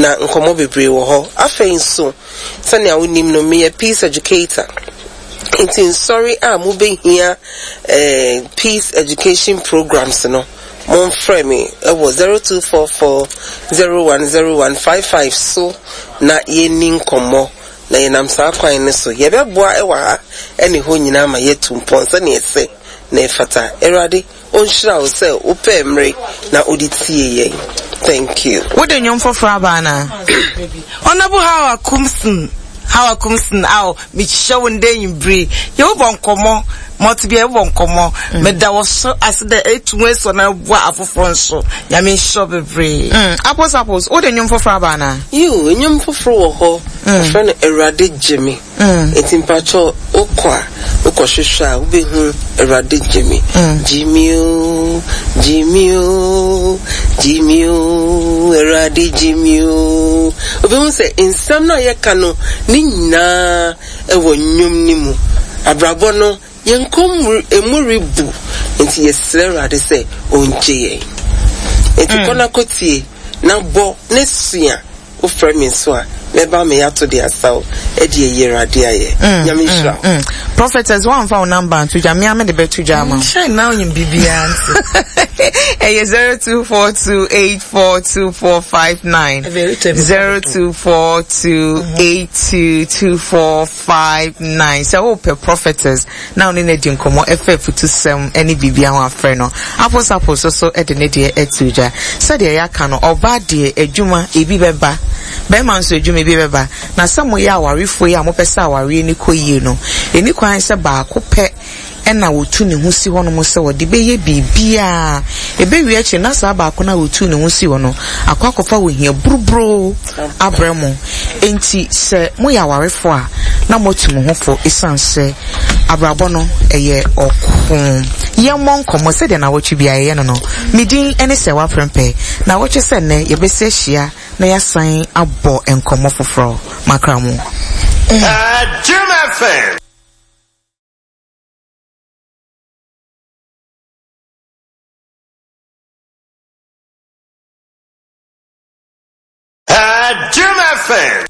Na nkɔmmɔ bebree wɔ hɔ. Afei nso, sɛnea wonim no, meyɛ peace educator. Nti nsɔre a mobɛhia eh, peace education programs no, momfrɛ me wɔ 0244 010155 so na yɛnni nkɔmmɔ. Na yɛnam saa kwan no so, yɛbɛboa wɔ ha ne hɔ nyinaa ma yɛatu mpɔn sɛnea ɛsɛ na ɛfata. Awurade Ɔnhyira wo sɛ wopɛɛ mmere na wode tiee yɛn. Thank you. Wode nnwom foforɔ aba anaa? Honourable Hawa Koomson, Hawa Koomson, aw, mehyia wo ndɛ enyimber yi. Yɛbɔbɔ nkɔmbɔ, ma ɔtse biara yɛbɔbɔ nkɔmbɔ. Meda wo so ase dɛ etu ho esɔ na eboa afofor nso. Nyame nhyira wo beberee. Mm, Apples Apples, wode nnwom foforɔ aba anaa? Yiw, nnwom foforo wɔ hɔ, wɔfrɛ no Awurade Gye Me. Enti mpakyɛw wokɔ a wokɔ hwehwɛ a wobɛhu Awurade gye me gye me oo gye me oo gye me oo Awurade gye me oo. Wobɛhu sɛ nsɛm no a yɛka no ne nyinaa ɛwɔ nnwom no mu. Abrabɔ no yɛn kɔn mu emu rebu nti yɛsrɛ Awurade sɛ ɔngye yɛn. Enti kɔ na kɔtie na bɔ na sua. Wo frɛ me nso a, mɛba ama yɛato de asaw de ayi Awurade ayɛ. Nyame nhyira wo. Prophetess, woamfa wo number anto dwa, me ara mede bɛto dwa ama wo. Hyɛ na onyim biribiara nti. Ɛyɛ 0242842459. 0242822459. Sɛ wopɛ prophetess na wo ne no adi nkɔmmɔ ɛfa afutusɛm ne biribiara ho afrɛ no. Apples Apples nso de ne deɛ ato dwa. Sɛdeɛ yɛaka no, ɔbaa deɛ adwuma ebi bɛba, barima nso adwuma ebi bɛba. Na sɛ moyɛ awarefoɔ yi a mopɛ sɛ awareɛ no kɔ yie no, ɛnni kwan sɛ baako pɛ na ɔtu ne ho si hɔnom sɛ ɔde bɛyɛ biribiara. Ɛbɛwie akyire na saa baako no a ɔtuu ne ho si hɔ no akɔ akɔfa ohia buruburoo abrɛ mo. Enti sɛ moyɛ awarefoɔ a, na moatu mo ho fo esiane sɛ abrabɔ no yɛ ɔko. Yɛmmɔ nkɔmmɔ sɛdeɛ nnawɔtwe biara yɛyɛ no no. Me din ne Sɛwa Prempeh. Nnawɔtwe sɛ nnɛ, yɛbɛsi ahyia na yɛasan abɔ nkɔmmɔ foforɔ. Makra mo. Jim FM. Jim FM.